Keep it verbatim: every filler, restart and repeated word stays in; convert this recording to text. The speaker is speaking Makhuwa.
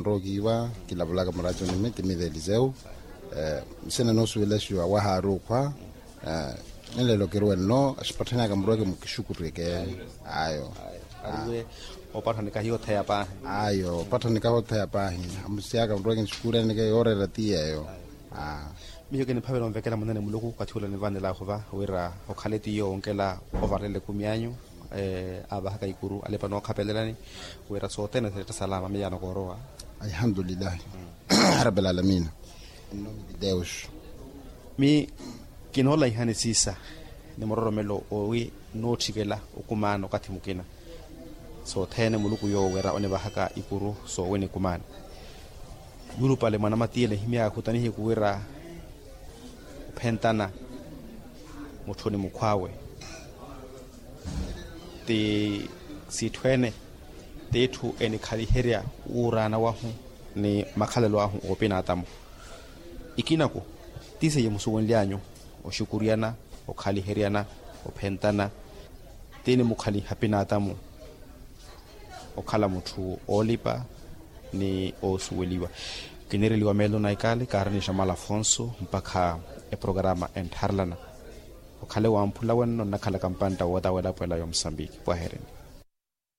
Nrowa okiiwa kilavulaka muracuni mi ti mive eliseu. Nsina noosuwela exiwa wahaaruukhwa. Ninleelo kiruwe nno axipatthanyaka murweke mukixukureke. Ayo. Ariwe. Opattha nikahi otheya paahi. Ayo opattha nikahi otheya paahi. Amusiyaka murweke nixukureneke yooreera ti yeeyo. Miyo kiniphavela onvekela munene muluku okathi ula nivanelaahu va wira okhale tiyo onkela ovarela ekumi anyu. Aavahaka ikuru alipa nookhapelelani wira sothene siretta salama miyaano koorowa. Alhamdulilahi. Arabi alamina. Nnome di deus. Mi kinoolaihani siisa ni muroromelo owi nootthikela okumaana okathi mukina sothene muluku yoowo wira onivahaka ikuru soowi nikumaana. Yulupale mwanamatiye nihimyaka khutanihiku wira ophentana mutthu ni mukhw'awe ti sitthu ene t'itthu enikhaliherya wuuraana wahu ni makhalelo ahu oopinaatamu. Ikinaku ti seiye musuwenly'anyu oxukuryana okhaliheryana ophentana ti nimukhaliha pinaatamu okhala mutthu oolipa ni oosuweliwa. Kinireliwa meelo na ikaali kaaranixa mala afonso mpakha eprogarama enttharelana okhale wamphula wenno nnakhalaka mpantta woota welapo ela ya omusambiki pwahereni.